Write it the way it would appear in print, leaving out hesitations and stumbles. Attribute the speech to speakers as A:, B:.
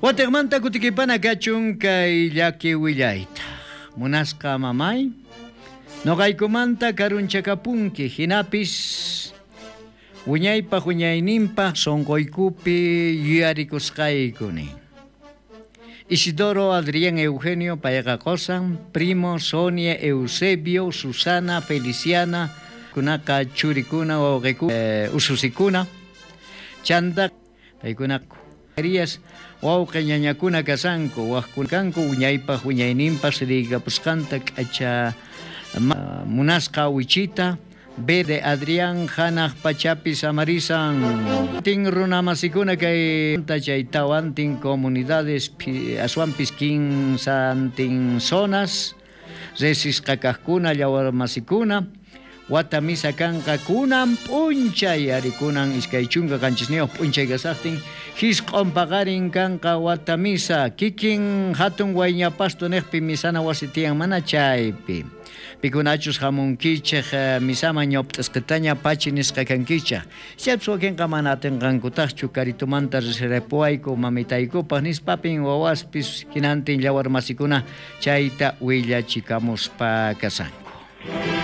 A: Watejmanta kutikipana kachun kay llaki willayta. Munasqa mamay, noqaykumanta karunchakapunki, hinapis wiñaypaj wiñayninpaj sonqoykupi yuyarikusqayku nin. Isidoro Adrián Eugenio payqa qosan, primo Sonia Eusebio, Susana Feliciana, kunaqa churikuna wawqikuna, ususikuna, chanta paykuna Arias wawqe ñañakuna kasanku, wajkuna kanku wiñaypaj wiñayninpaj siriykapusqanta k'acha munasqa wichita B de Adrián hanaj pachapi samarisan. Tin runamasikuna kay chay tawantin comunidades aswanpis kinsantin zonas resisqa kajkuna llawarmasikuna wata misa kanqa kunan p'unchay ari kunan 27 p'unchay kasajtin jisq'on paqarin kanqa wata misa kikin hatun Wayñapasto nejpi misana wasi tiyan mana chaypi pikunachus jamunkichej misaman ñawp'tisqitaña pachi nisqa kankichej chaypis wakinqa mana atinqankutajchu karitumanta risirapuwayku mamitaykupaj nispapin wawaspis hinantin llawarmasikuna chayta willachikamuspa kasanku.